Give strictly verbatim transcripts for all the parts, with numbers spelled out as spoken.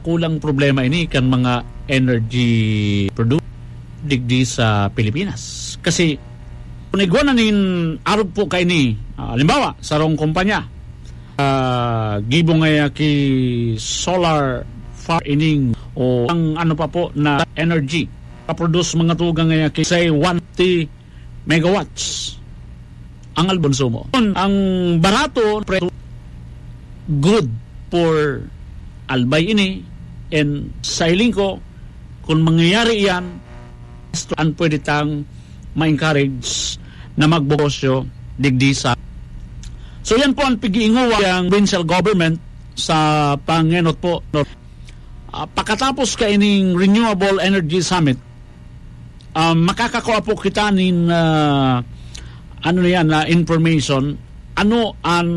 kulang problema ini kan mga energy producer digdi sa Pilipinas. Kasi kung igwa na nin arog po kaini, ah, halimbawa, sarong kumpanya, ah, gibo ngaya ki solar farm ining o ang ano pa po na energy, kaproduce mga tugang ngaya ki, say, one fifty megawatts ang albon sumo. Ang barato, pre-, good for Albay ini, and sa hiling ko, kung mangyayari iyan, an pwede tang ma-encourage na magnegosyo digdi sa. So, yan po ang pag-iinguwa ng provincial government sa pangenot po, no? Ah, pakatapos kaining Renewable Energy Summit, ah, makakakua po kita nin, ah, ano na yan, na information, ano ang,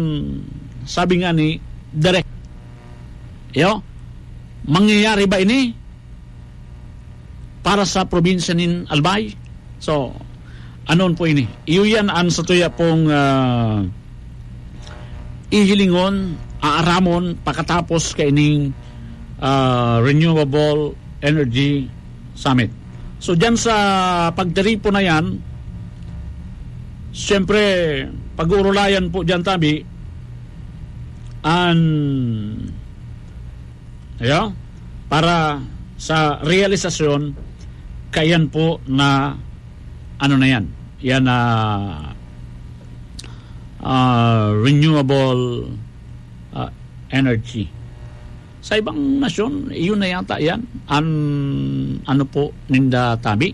sabi nga ni Direk, yo, mangyayari ba ini para sa probinsya nin Albay? So, anon po ini? Iyo yan ang sa tuya pong, ah, ihilingon, aaramon pakatapos kaining, ah, Renewable Energy Summit. So, dyan sa pagtiripon na yan, siyempre, pag-uurulayan po dyan, tabi, an, ayo, para sa realisasyon, kaiyan po na, ano na yan, yan na, ah, renewable, ah, energy. Sa ibang nasyon, iyon na yata yan. An, ano po, ninda tabi.